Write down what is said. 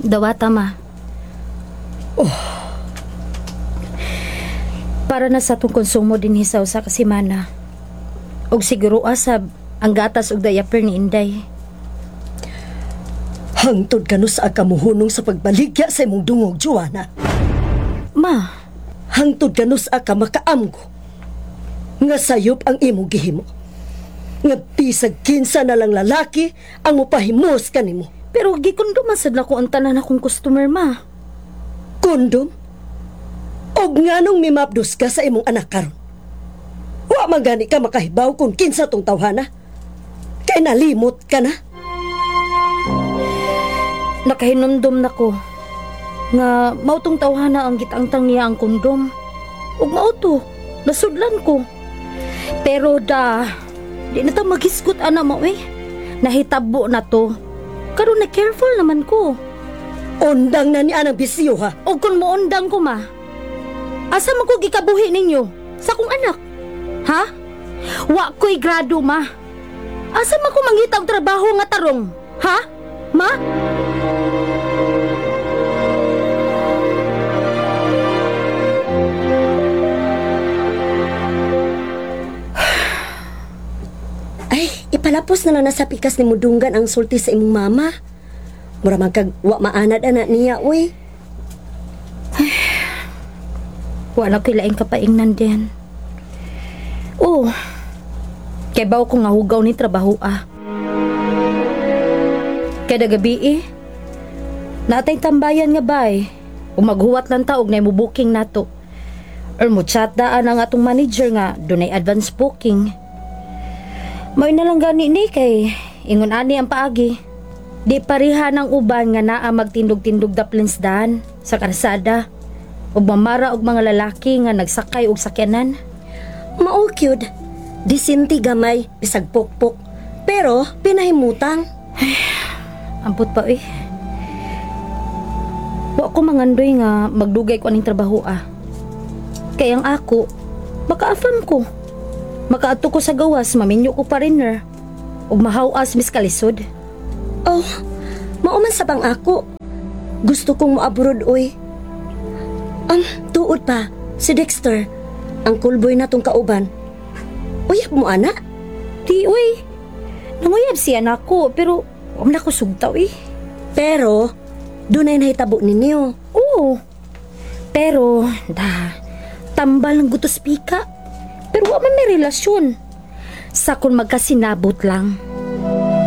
Dawata, ma. Oh. Para na sa atong konsumo dinhi sa usa ka semana. Og siguro asab ang gatas og diaper ni Inday. Hangtod kanu sa kamuhunong sa pagbaligya sa imong dungog, Joanna. Ma, Hangtod kanu sa ka makaamgo. Nga sayop ang imong gihimo. Nga bisag kinsa na lang lalaki ang mupahimos kanimo. Pero gikondom man sad nako ang tanan akong customer, ma. Kondom? Og nganong mimapdos ka sa imong anak karon? Wa man gani ka makahibaw kung kinsa tong tawhana. Kay nalimot ka na. Nakahinumdum nako nga mao tong tawhana ang gitangtang niya ang kondom. Ug mao to, nasudlan ko. Pero da, di na ta maghisgot ana mo eh. Nahitabo na to. Karon na careful naman ko. Undang na ni anang bisyo ha. Og kung moundang ko, ma, asa man ko gikabuhi ninyo? Sa akong anak? Ha? Wa ko'y grado, ma. Asa man ko mangita og trabaho nga tarong? Ha? Ma? Ay, ipalapos na lang na sa pikas ni Mudunggan ang sulti sa imong mama. Mura man kag wa maanad ana niya, uy. Wala ko'y laing kapaingnan din. Oh, kay baw ko nga hugaw ni trabaho ah. Kada gabi eh, natay tambayan nga bay. O maghuwat lang ta og nay mo booking nato. Or mo chat daan ang atong manager nga dunay advance booking. May na lang gani ni kay ingon ani ang paagi. Di pareha ng uban nga naa magtindog-tindog daplins daan sa karsada ug mamara og mga lalaki nga nagsakay og sakyanan. Mao kyud. Disinti gamay, bisag pokpok. Pero pinahimutang. Ampot pa eh. Wa ko mangandoy nga magdugay ko aning trabaho ah. Kay ang ako, makaafam ko. Makaadto ko sa gawas, maminyo ko pa rin ner. Ug mahawas mis kalisod. Oh, mao man sa bang ako. Gusto kong moabrod, uy. Tuod pa, si Dexter, ang cool boy na tong kauban. Uyab mo, ana? Di uy. Nanguyab siya nako pero wa man ako sugtaw eh. Pero, dunay nahitabo ninyo. Oo. Pero, da, tambal ng gutos pika. Pero wa man may relasyon. Sa kung magkasinabot lang.